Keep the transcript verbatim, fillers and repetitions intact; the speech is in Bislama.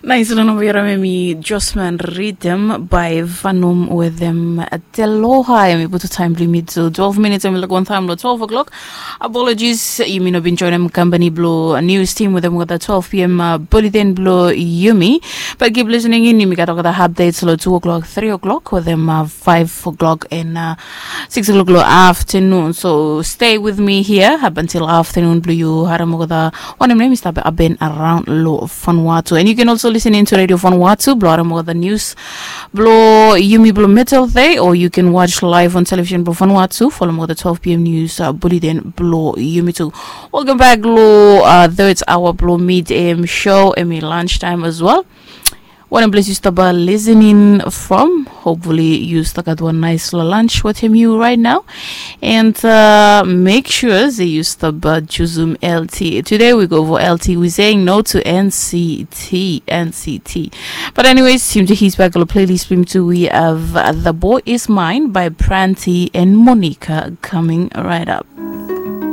Nais long namba yara mi Josman Riddim by Vanum with them Teloha. Em i putu taim bilong mi to twelve minutes em i laik wan taim long twelve o'clock. Apologies, yumi no bin joinim company bilong news team with them with the twelve p.m. Uh, bulletin bilong yumi. But keep listening in, yumi gat olgeta updates long two o'clock, three o'clock with them uh, five o'clock and uh, six o'clock long afternoon. So stay with me here up until afternoon bilong yu harim olgeta wanem nem i stap happen around lo Vanuatu. And you can also listen into Radio Vanuatu, blo harim olgeta news blo yumi blo metal day, or you can watch live on television blo Vanuatu, follow mo the twelve p.m. news uh, bulletin blo yumi too. Welcome back lo uh, third hour blo mid a.m. show, emi lunch time as well. Wanem ples yu stap listening from? Hopefully yu stap gat wan nice lunch with him you right now. And uh, make sure that you stop uh, Juzum L T. Today we go for L T. We're saying no to N C T, N C T. But anyways, seem to his back on the playlist. Him too. We have uh, The Boy Is Mine by Pranti and Monica coming right up.